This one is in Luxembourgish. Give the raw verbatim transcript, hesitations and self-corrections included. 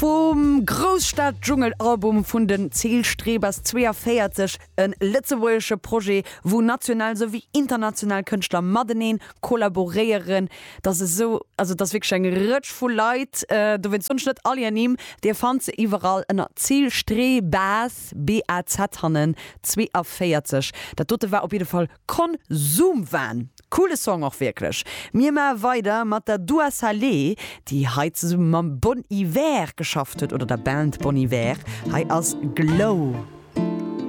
Vum Grousstad-Dschungel-Album vun den Zielstrebers zweeënvéierzeg, e lëtzebuergesche Projet, wou national souwéi international Kënschtler matenee kollaboréieren. Dat ass esou, also dat ass wierklech eng Rëtsch vu Leit, dowéinst soen ech net all hir Nimm, Dir fannt se iwwerall ënner Zielstrebaz, B A Z hannen, zweeënvéierzeg. Dat dote war op jidde Fall Konsumwahn. Coole Song och wierklech. Mir maache weider mat der Dua Saleh, déi hei zesumme mam Bon Iver geschafft huet, oder der Band Bon Iver. Hei ass Glow.